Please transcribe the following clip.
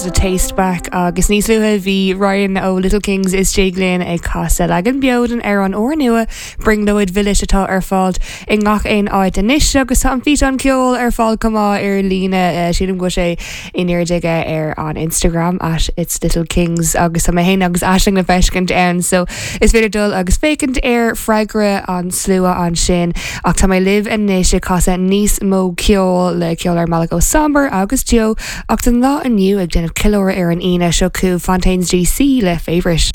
The Taste Back agus níos luaithe bhí Ryan ó Little Kings istigh linn ag casadh leagan beo den amhrán úrnua Brionglóid Mhilis atá ar fáil i ngach aon áit anois agus tá an físeán ceoil ar fáil chomh maith ar líne sílim go bhfuil sé in airde aige ar an Instagram at It's Little Kings agus tá mé féin agus Aisling le feiscint ann so is féidir dul agus féachaint ar freagra an slua ansin ach tá mé libh anois ag casadh níos mó ceoil le ceol ar an mbealach ó Somber agus Joe Ach don lá inniu ag déanamh ceiliúradh ar an Aoine seo chugaibh Fontaines DC le Favourite.